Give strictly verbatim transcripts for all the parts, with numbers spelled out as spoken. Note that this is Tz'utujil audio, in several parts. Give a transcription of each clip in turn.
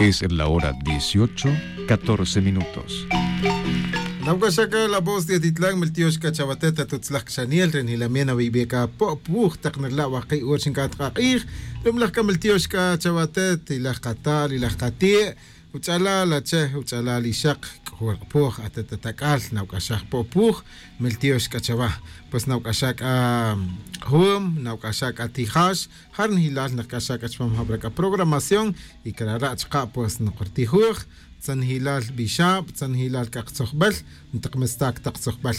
Es la hora dieciocho, catorce minutos. Nawc'axac la voz de atitlan miltiox c'a chawatet atutzlaj cxaniel re njilamien awi'be c'a po'puj tak nrila' waki' ur xinc'at k'ak'ij. Rumalaj c'a miltiox c'a chawatet ilaj katal ilaj kati', uch'alal ache, uch'alal ixak, c'ojol k'apuj atet atac'al nawc'axaj po'puj. Miltiox c'a chawa, pues nawc'axaj c'a jum, nawc'axaj c'a tijax. Jar nijilal nakc'axaj c'a chupam jabra c'a programación, y crara' chaka' pues nokortijuj tzanijilal bixab, tzanijilal c'a katzojbel, ntak mistac tak tzojbel.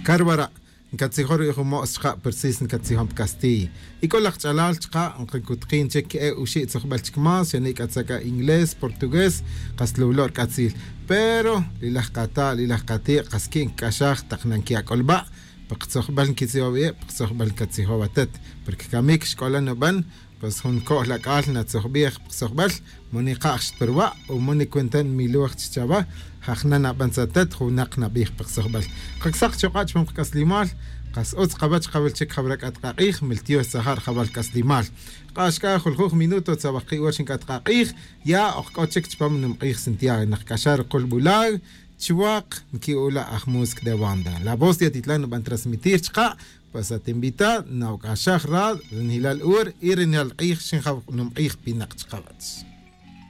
Carwara' ncatzijon rubi' jun mo's chaka' persis ncatzijon pa castiy. Y c'o laj ch'alal chaka' nkacutkin chic e uxi' tzojbel chic más xani' c'a tzak'a inglés portugués, kas lulo' rc'atzil. Pero li laj kata' li laj kati' kas qui' ncac'axaj tak nanquiya' c'o luba'. Pa katzojbel nquitzijob wi' pa katzojbel ncatzijob atet, porque camic xc'olan nuban. Pues jun co'l ac'al natzojbij pa katzojbel. Mo nika' xtperwa' o mo nicuenta nmiloj chi chawa. Jajna naban tzatet junak nabij pa katzojbel. Kacsak chuk'a' chupam kac'aslimal. Kas utz kawech kawil chic jawra c'at k'ak'ij miltiox tzaja' rjawal kac'aslimal. K'ax c'a juljuj minuto tzawaj ki' wach nc'at k'ak'ij. Ya ok c'o chic chupam numk'ij santiago nakc'axar rukulbulal. Chuwak nqui'ula' aj música de banda la voz de atitlan nuban transmitir chaka'. Pues atinvita nawc'axaj rad rinjilal ur y rinjilal k'ij xinjaw numk'ij pinak chakawach.